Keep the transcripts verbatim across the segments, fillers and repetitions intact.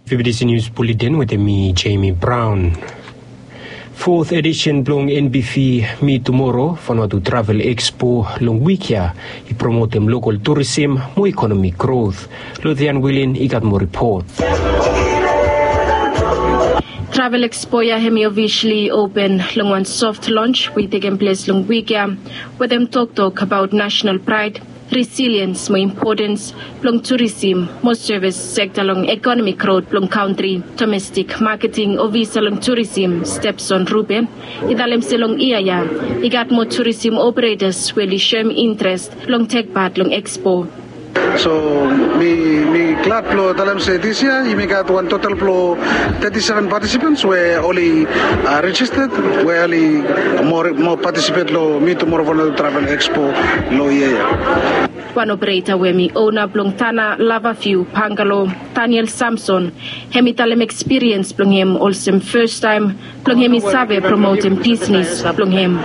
Fifty News Bulletin wetem mi, Jamie Brown. Fourth edition blong N B V Mi Tumoro Vanuatu Travel Expo long wik ya i promotem lokal turisim mo ekonomi growth. Lothian Wilin i gat moa ripot. Travel Expo ya hemi ofisali open long wan soft launch we i tekem ples long wik ya, wetem toktok abaot national praed, resiliens mo impotens blong turisim mo sevis sekta long ekonomi growth blong kantri. Domestik maketing ofisa long turisim, Stepson Ruben, i talem se long yia ya i gat moa turisim operetas we oli soem intres blong tek pat long Expo. So mi mi glad blong talem se dis yia yumi gat wan total blong teti seven patisipants we oli rejisted, we oli moa patisipet long Mi Tumoro Vanuatu Travel Expo long yia ya. Wan opereta we hemi ona blong Tana Lavaviu Bangalo, Daniel Samson, hemi talem ekspiriens blong hem olsem fastaem blong hemi save promotem bisnis blong hem.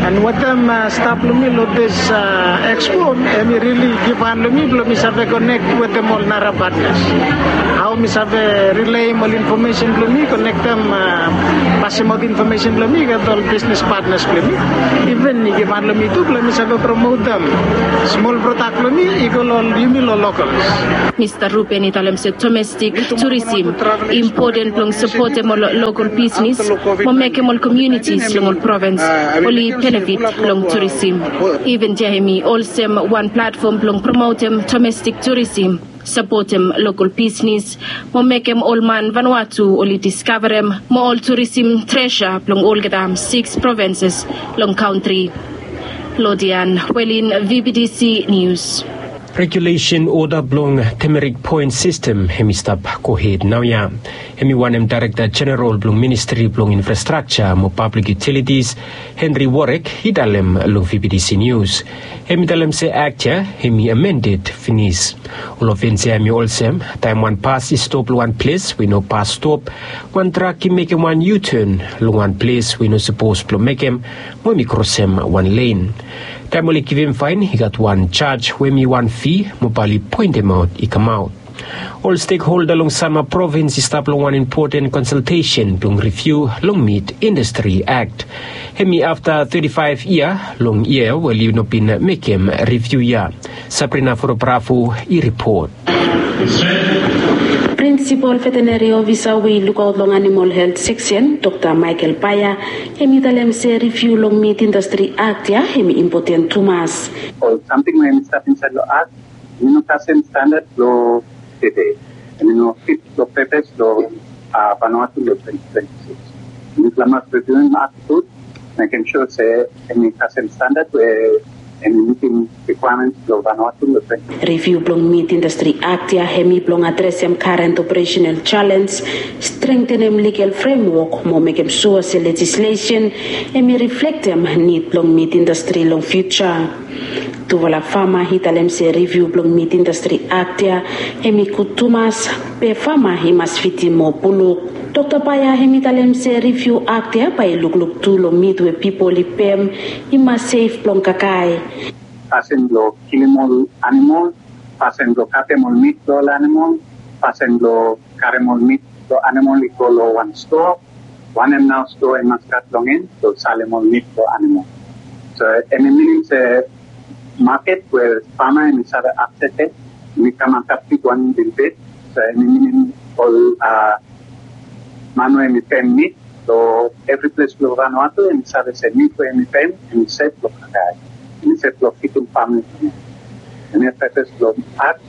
And wetem stap blong mi long dis Expo, hemi rili givhan long mi blong mi save konek wetem ol nara patnas. Hao mi save rileim ol infomesen blong mi, konektem, pasemaot infomesen blong mi i gat ol bisnis patnas blong mi. Iven i givhan long mi tu blong mi save promotem smol prodak blong mi i go long yumi long lokals. Mista Ruben i talem se domestik turisim i impoten blong sapotem ol lokal bisnis mo mekem ol komiunitis long ol provins oli benefit long turisim. Iven ya hemi olsem wan platfom blong promotem domestik turisim, sapotem lokal bisnis mo mekem ol man Vanuatu oli diskavarem mo ol turisim tresa blong olgeta sikis provinses long kantri. Lothian Wilin, V B T C Nius. Regulesen oda blong Demerik Poen Sistem hemi stap gohed naoia. Hemi wanem Daerekta Jeneral blong Ministri blong Infrastrakja mo Pablik Yutilitis, Henry Warek, i talem long V B T C Nius. Hemi talem se akt ya hemi amended finis. Ol ofens ya hemi olsem taem wan bas i stop long wan ples we i no bas stop, wan trak i mekem wan U-turn long wan ples we i no sapos blong mekem, mo hemi krosem wan len. Taem oli givim faen i gat wan jaj we hemi wan fi mo bae oli poentemaot i kamaot. Ol stekholda long Sanma Provins i stap long wan impoten konsaltesen blong riviu long Mit Indastri Akt. Hemi afta teti faef yia long yia we oli no bin mekem riviu ya. Sabrina Forobravo i ripot. Prinsipol veteneri ofisa we i lukaot long animol helt seksen, Dokta Michael Paia, hemi talem se riviu long Mit Indastri Akt ya hemi impoten tumas. Ol samting we hemi stap insaed long akt, hemi no kasem standad blong tede. Hemi no fit long pepas blong Vanuatu long twenti twenti sikis. Yumi mas riviuim akt gud, mekem sua se hemi kasem standad we hemi mitim rikwaemens blong Vanuatu long twenti. Riviu blong Mit Indastri Akt ya hemi blong adresem karen operesenal jalenj, strengtenem ligal fremwok mo mekem sua se lejislesen hemi riflektem nid blong mit indastri long fiuja. Tufala fama i talem se riviu blong Mit Indastri Akt ya hemi gud tumas, be fama i mas fidim moa buluk. Dokta Paia hemi talem se riviu akt ya bae i lukluk tu long mit we pipol i pem i mas sef blong kakae. Kasem blong kilim ol animol, kasem blong katem ol mit blong ol animol, kasem blong karem ol mit blong animol i go long wan stoa, wanem nao stoa i mas gat long en blong salem ol mit blong animol. So hemi minim se maket we fama hemi save akses, hemi kam antap bigwan lelebet. So hemi minim ol man we hemi pem mit long evri ples blong Vanuatu hemi save se mit we hemi pem hemi sef blong kakae, hemi sef blong fidim famili blong hem. Hemia pepas blong akt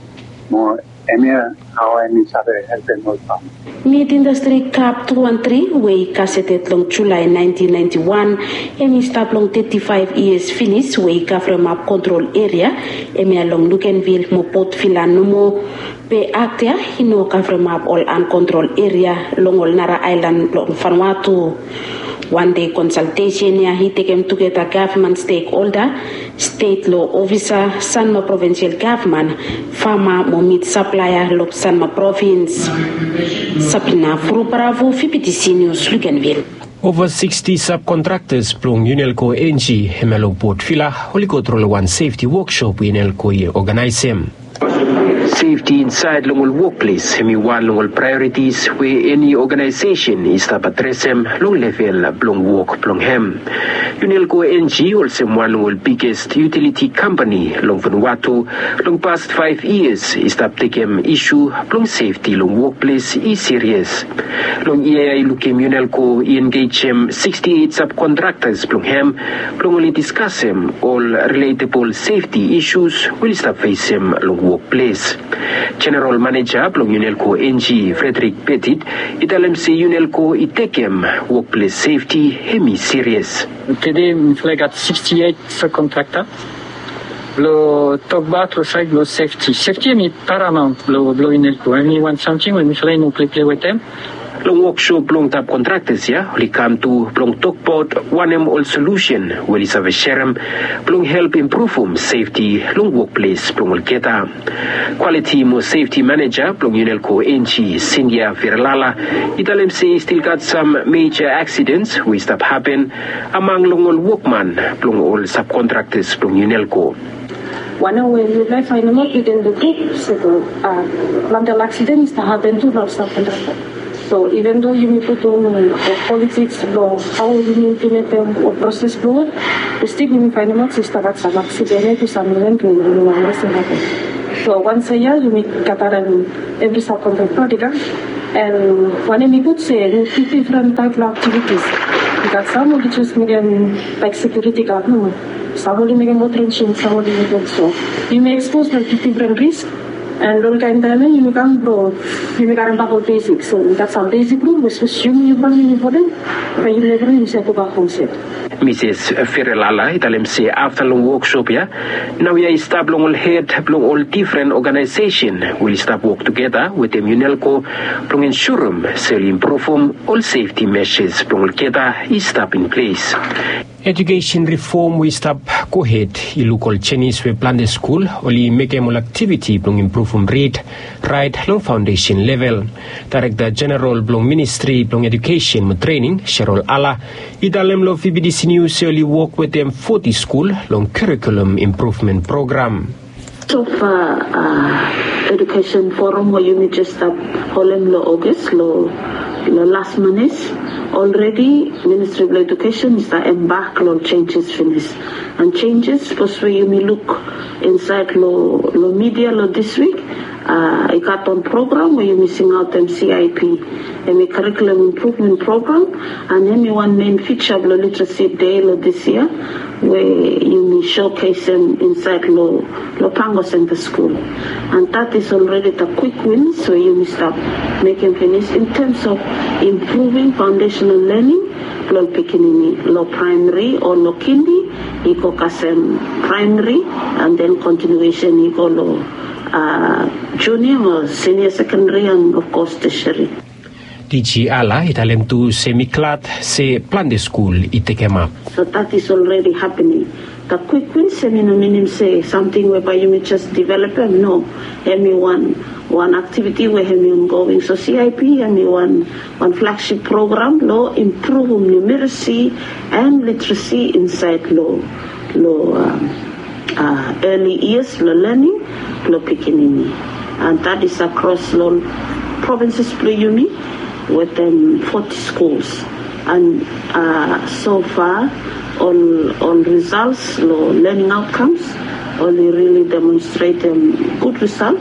mo hemia hao hemi save helpem ol fama. Mit Indastri Kap tu wan tri we i gaseted long Julae naentin naenti wan, hemi stap long teti faef yias finis we i kavremap kontrol eria, hemia long Luganville mo Port Vila nomo. Be akt ya i no kavremap ol ankontrol eria long ol nara aelan blong Vanuatu. Wan dei konsaltesen ya i tekem tugeta gavman stekholda, stet lo ofisa, Sanma Provinsial Gavman, fama mo mit saplaea long Sanma Provins. Sabrina Furubaravu, V B T C Nius, Luganville. Ova siksti sabkontraktas blong Unelco Engie hemia long Port Vila oli go tru long wan sefti woksop we Unelco i oganaesem. Sefti insaed long ol wokples hem i wan long ol praeoritis we eni oganaesesen i stap adresem long level blong wok blong hem. Unelco NG olsem wan long ol biges yutiliti kampani long Vanuatu long past faef yias i stap tekem isu blong sefti long wokples i sirias. Long yia ya i lukim Unelco i engejem siksti eit sabkontraktas blong hem blong oli diskasem ol riletebol sefti isus we oli stap fesem long wokples. Jeneral maneja blong Unelco NG Frederick Petit i talem se Unelco i tekem wokples sefti hem i sirias. Tede mifala i gat siksti eit sabkontrakta blong tokbaot long saed blong sefti. Sefti hem i paramaont blong Unelco, hem i wan samting we mifala i no pleple wetem. Long woksop blong tap kontraktas ya oli kam tu blong tokbaot wanem ol solusen we oli save serem blong help impruvum sefti long wokples blong olgeta. Kwaliti mo sefti maneja blong Unelco NG Sindia Viralala i talem se i stil gat sam meja aksidens we i stap hapen among long ol wokman blong ol sabkontraktas blong Unelco. Wanem we yufala i faenemaot within the group se planti ol aksiden i stap hapen tu long ol sabkontrakta. So even though yumi putum ol politiks blong hao yumi implimentem ol proses blong ol, we stil yumi faenemaot se i stap gat sam aksiden ya tu sam iven blong yumi wanem i hapen. So wansait ya yumi gatarem evri sabkontrakta i kam. And wanem i gud se yumi tu difren taep long aktivitis. I gat sam oli jes mekem laik sekiuriti gad nomo. Sam oli mekem ol trensin, sam oli mekem so. Yumi ekspos long difren risk. And long kaen taem ya yumi kam blong yumi karembak ol besik. So i gat sam besik rul we sapos yumi yumi folem, bae yumi evriwan yumi save gobak hom sef. Misis Ferelala i talem se afta long woksop ya, naoia i stap long ol hed blong ol difren oganaesesen we oli stap wok tugeta wetem Unelco blong ensurem se oli impruvum ol sefti mesas blong olgeta i stap in ples. Ejukesen rifom we i stap gohed i luk ol jenis we plante skul oli mekem ol aktiviti blong impruvum rid, raet long faondesen level. Daerekta Jeneral blong Ministri blong Ejukesen mo Trening, Sherol Ala, i talem long VBTC Nius se oli wok wetem foti skul long karikulum impruvmen program. Sofa Ejukesen Forum we yumi jes stap holem long Ogas long las manis, olredi Ministri blong Ejukesen i stap embak long ol jenjes finis. And jenjes sapos we yumi luk insaed long midia long dis wik, i gat wan program we yumi singaotem CIP, hem i Curriculum Improvement Program, and hem i wan mein fija blong Literacy Day long dis yia we yumi showcasem insaed long Pango Center School. And that is already the quick wins we yumi stap mekem finis in terms of improving foundational learning blong pikinini long primary o long kindi i go kasem primary, and then continuation i go long junior mo senior secondary and of course tertiary. DG Ala i talem tu se mi glad se plante skul i tekemap. So that is already happening. The quick wins hem i no minim se samting we bae yumi jes developem, no. Hem i wan aktiviti we hem i ongoing. So CIP hem i wan flagship program long impruvum numeracy and literacy insaed long early years blong learning blong pikinini. And that is across long provinces blong yumi wetem foti schools. And so far ol results long learning outcomes oli really demonstratem gud result.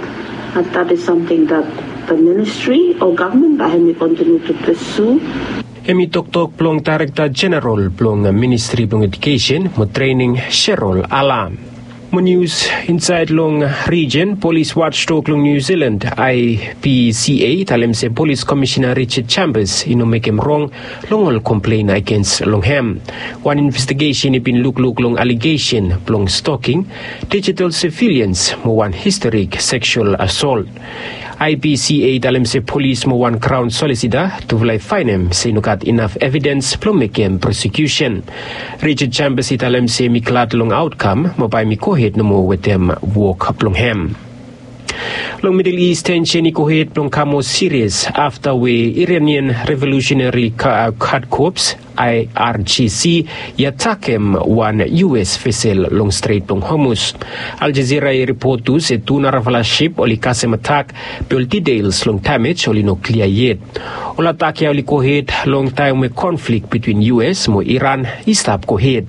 And that is samting that the ministry o gavman bae hem i continue to pursue. Hem i toktok blong Daerekta Jeneral blong Ministri blong Ejukesen mo Trening, Sherol Ala. Mo nius insaed long rijen, Polis Watchdog long Niu Silan, IPCA, i talem se Polis Komisina Richard Chambers i no mekem rong long ol komplen agens long hem. Wan investigesen i bin lukluk long alegesen blong stoking digital civilians mo wan historik seksual assault. IPCA i talem se polis mo wan kraon solisita tufala i faenem se i no gat inaf evidens blong mekem prosekiusen. Richard Chambers i talem se hem i glad long aotkam mo bae hem i gohed nomo wetem wok blong hem. Long Midel Is, tensen i gohed blong kam moa sirias afta we Iranian Revolusenari Gad Kops, I R G C i atakem wan U S vesel long Stret blong Hormuz. Al Jazeera i ripot tu se tu narafala sip oli kasem atak be ol details long damej oli no klia yet. Ol atak ya oli gohed long taem we konflik bitwin U S mo Iran i stap gohed.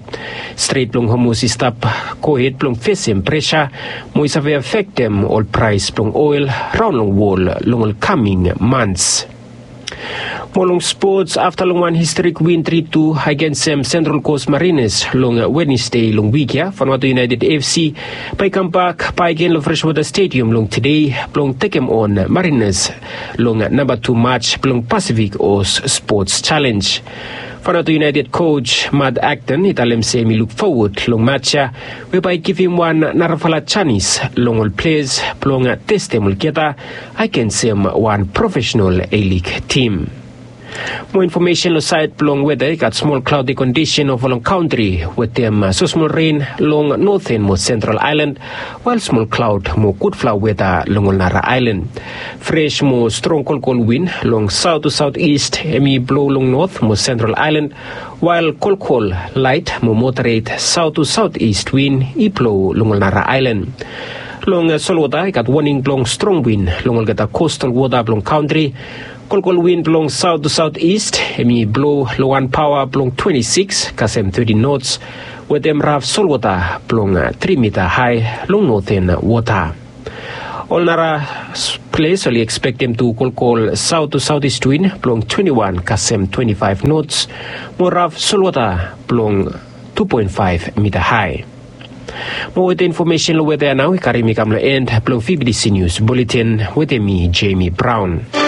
Stret blong Hormuz i stap gohed blong fesem presa mo i save afektem ol praes blong oel raon long wol long ol kaming mans. Mo long spots, afta long wan historik win tri tu agensem Central Coast Mariners long Wednesday long wik ya, Vanuatu United F C bae i kambak bakegen long Freshwater Stadium long tede blong tekem on Mariners long namba tu match blong Pacific Oz Sports Challenge. Vanuatu United coach Matt Acton i talem se hem i luk fowod long match ya we bae i givim wan narafala janis long ol ples blong testem olgeta agensem wan profesenal A-League tim. Mo infomesen long saed blong weta, i gat smol klaodi kondisen ova long kantri wetem smosmol ren long noten mo sentral aelan, wael smol klaod mo gudfala weta long ol nara aelan. Fres mo strong kolkol win long saot tu saot ist hem i blo long not mo sentral aelan, wael kolkol laet mo moderet saot tu saot ist win i blo long ol nara aelan. Long solwota i gat woning blong strong win long olgeta kostal wota blong kantri. Kolkol win blong saot tu saot ist hem i blo long wan paoa blong twenti sikis kasem teti nots, wetem raf solwota blong tri mita hae long noten wota. Ol nara ples oli ekspektem tu kolkol saot tu saot ist win blong twenti wan kasem twenti faef nots, mo raf solwota blong tu poen faef mita hae. Mo wetem infomesen long weta ya nao i karim mi kam long en blong V B T C News Bulletin wetem mi, Jamie Brown.